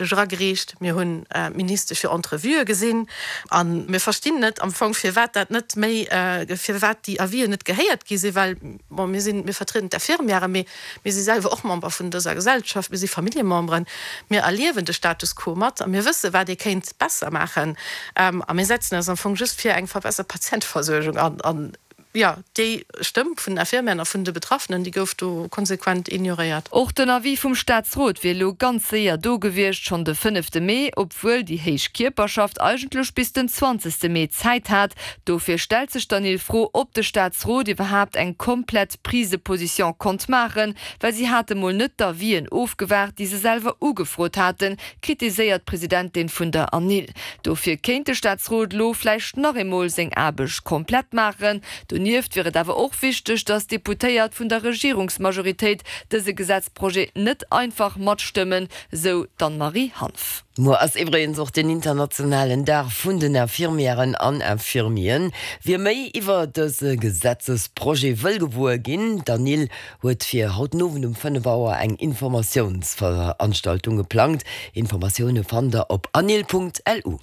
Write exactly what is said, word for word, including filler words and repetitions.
eragereecht, mir hunn d'Ministesch fir Entrevuë gesinn a mir verstinn net am Fong, firwat dat net méi, firwat déi Avisen net gehéiert gi sinn, well, bon, mir sinn, mir vertrieden d'Infirmièren, mee mir si selwer och Member vun dëser Gesellschaft, mir si Familljememberen, mir erliewen de Status quo mat a mir wësse wat ee kéint besser maachen a mir setzen eis am Fong just fir eng verbessert Patienteversuergung an. An jo, déi Stëmm vun den Infirmièren a vun de Betraffenen, déi gouf do konsequent ignoréiert. Och den Avis vum Staatsrot wier elo ganz séier do gewiescht, schonn de fënnefte Mee, obwuel déi héich Kierperschaft eigentlech bis den zwanzegste Mee Zäit hat. Dofir stellt sech d'Anil d'Fro, ob de Staatsrot iwwerhaapt eng komplett Prise de position konnt maachen, well si hate mol net d'Avisen ofgewaart, déi se selwer ugefrot haten, kritiséiert d'Presidentin vun der Anil. Dofir kéint de Staatsrot elo vläicht nach eemol seng Aarbecht komplett maachen. Donieft wier et awer och wichteg, datt d'Deputéiert vun der Regierungsmajoritéit dëse Gesetzprojet net einfach matstëmmen, sou d'Anne-Marie Hanff. Muer ass iwwregens och den internationalen Dag vun den Infirmièren an Infirmieren. Wie méi iwwer dëse Gesetzesprojet wëll gewuer ginn, d'Anil huet fir haut den Owend um fënnef Auer eng Informatiounsveranstaltung geplangt. Informatioune fannt der op anil.lu.